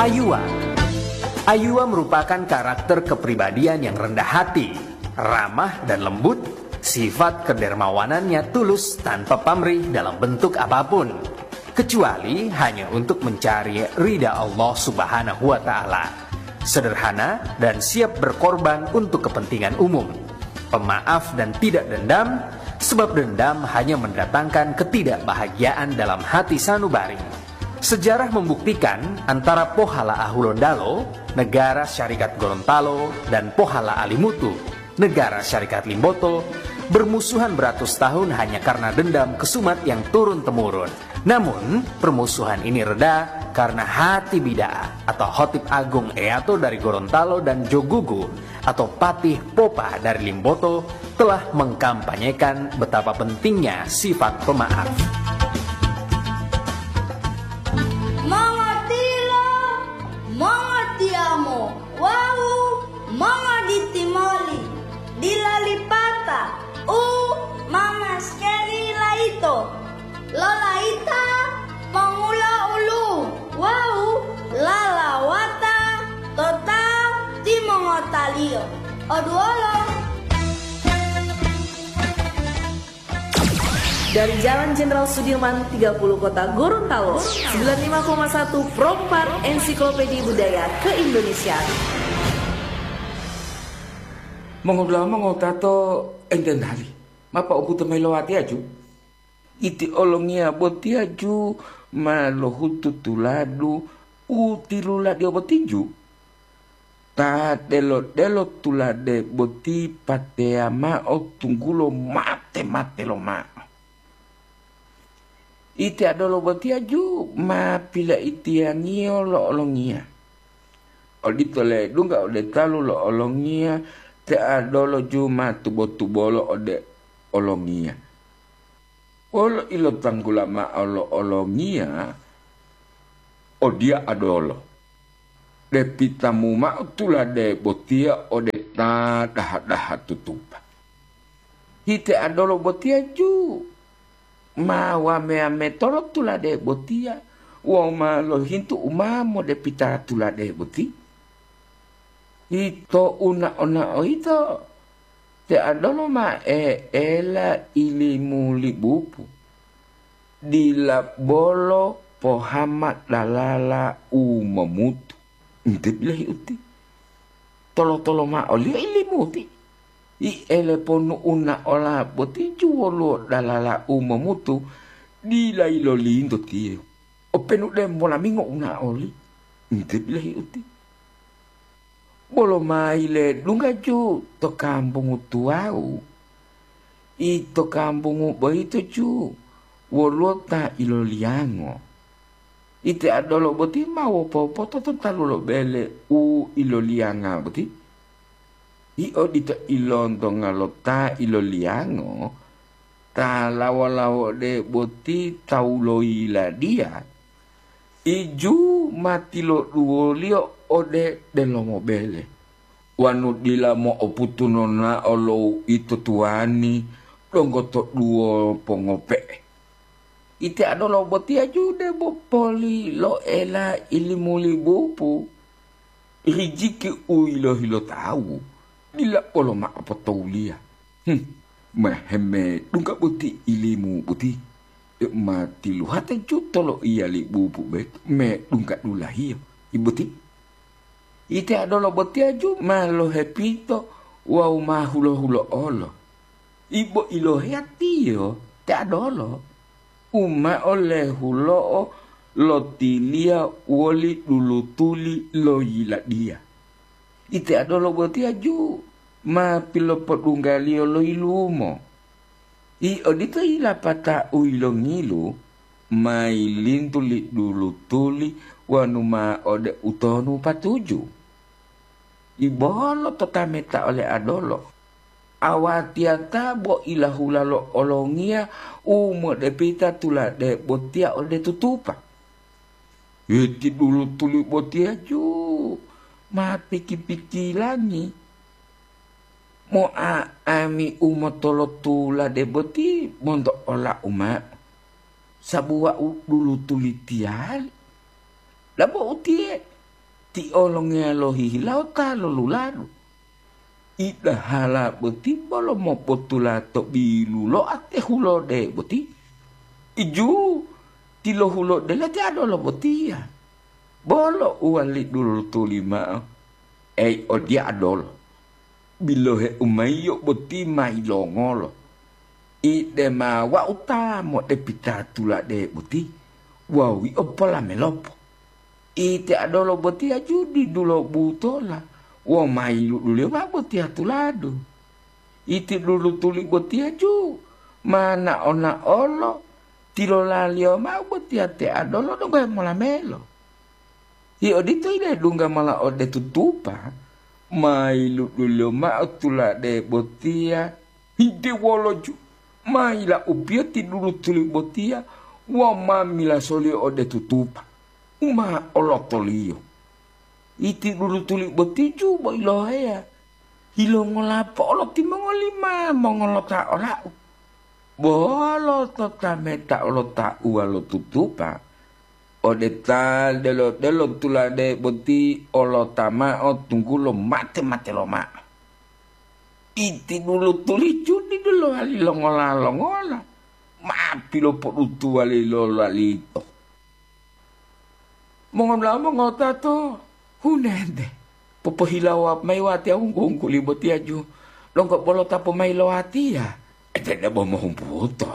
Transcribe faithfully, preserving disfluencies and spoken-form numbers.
Ayuwa. Ayuwa merupakan karakter kepribadian yang rendah hati, ramah dan lembut, sifat kedermawanannya tulus tanpa pamrih dalam bentuk apapun, kecuali hanya untuk mencari ridha Allah Subhanahu wa Ta'ala. Sederhana dan siap berkorban untuk kepentingan umum. Pemaaf dan tidak dendam, sebab dendam hanya mendatangkan ketidakbahagiaan dalam hati sanubari. Sejarah membuktikan antara Pohala Ahulondalo, Negara Syarikat Gorontalo, dan Pohala Alimutu, Negara Syarikat Limboto, bermusuhan beratus tahun hanya karena dendam kesumat yang turun-temurun. Namun, permusuhan ini reda karena Hati Bida'a atau Hotip Agung Eato dari Gorontalo dan Jogugu atau Patih Popa dari Limboto telah mengkampanyekan betapa pentingnya sifat pemaaf. Mongotilo, mongotiyamo, wawu mongoditi moli, dila lipata u ma maskeri layito. Lolayita mongulo ulu wawu lalawata to ta timongotaliyo. Oduwolo. Dari Jalan Jenderal Sudirman tiga puluh Kota Gorontalo, sembilan lima koma satu Pro empat Ensiklopedi Budaya Keindonesiaan. Mongodula'a mongotato enten hali, ma po'obuto mayi lo watiya ju? Iti olongiya botiyaju ma lohutu tuladu u tiluladiyo botiju. Ta delo-delo tulade boti pateya mao tunggulo mate-mate lomao. Iti adolo botiyaju ma pilaitiyangiyo lo olongiya. Odito ledungga ode talu lo olongiya, te adolo ju ma tubo-tubolo ode olongiya. Wolo ilotanggula mao lo olongiya, odiya adolo, depitamu mao tulade botiya ode ta daha-daha tutupa. Hite adolo botiya ju ma wame-wametolo tulade botiya wawu ma lohintu u ma modepita tulade boti. Ito unao-nao ito, te adolo ma e'ela ilimu li bupu, dila bolo pohama dalala u momutu. Nte bilohi uti, tolo-tolo mao oliyo ilimu uti. Iele ponu unaola boti juwoluwo dalala u momutu, dila yilolinto tiyo. Openu de molamingo unaoli, nte bilohi uti. Bolo mayi ledungga ju to kambungu tuwawu, ito kambungu boyito ju woluwo ta iloliyango. Ite adolo boti ma wopopoto to talu lo bele u iloliyanga boti. I odito ilontonga lo ta iloliyango, ta lawo-lawode boti tawu lo yiladiya, iju ma tiloduwoliyo ode delomo bele, wanu dila mo'oputu nonao lo uito tuwani donggo to duwo pongope'e. Ite adolo botiya ju debo poli lo'ela ilimu li bupu. Rijiki u yilohi lo tawu dila bolo mao potowuliya. Hmm, meheme dungga boti ilimu boti, deu ma tiluhata juto lo iya li bupu boyito medungga dulahiyo. I boti, ite adolo botiya ju ma lohepito wawu ma hulo-hulo'olo. Ibo iloheyatiyo te adolo, u mao lehulo'o lotiliya woli dulutuli lo yiladiya. Ite adolo botiya ju ma pilopodunggaliyo lo yilumo. I odito yilapata u yilongilu ma yilintu li dulutuli wonu ma ode utonu patuju. Ibolo to tameta ole adolo, awatiyata bo ilahula lo olongiya u modepita tulade botiya ode tutupa. Iti dulutuli botiya ju ma piki-pikilangi. Mo'a'ami u motolotulade boti monto olau mao, sabu wau dulutuli tiyali. Dabo utiye, Ti olongiya lohihilawo ta loluladu. Idahala boti bolo mopotula to biluloa te hulode boti. Iju, tilohulodela ti adolo botiya. Bolo uwali dulutuli mao, ei odiya adolo, biloheu mayiyo boti ma yilongolo. Ide ma wau ta modepita tulade boti wawu yio polamelopo. Ite adolo botiya ju didulo butola, wo ma yiluduliyo mao botiya tuladu. Iti dulutuli botiya ju ma nao-naolo tilolaliyo mao botiya te adolo donggo hemolamelo. Hi odito yilai dungga mola ode tutupa, ma yiluduliyo mao tulade botiya hidewoloju, ma yilaupiyo ti dulutuli botiya wawu ma milasoliyo ode tutupa u ma olotoliyo. Iti dulutuli boti ju bo iloheya, yilongola po'olo timongoli ma mongolota olau? Bolo to tameta olotauwa lo tutupa, ode ta delo-delo tulade boti olota mao tunggulo mate-mate lomao. Iti dulutuli ju didu lowali longola-longola, ma pilopodutuwali lolalito. Mongoda'a mongotato, hunente, popohilawo mayi watiya wunggu-wungguli botiya ju, donggo bolo ta pomayi lo watiya. Ete debo mohumbuto.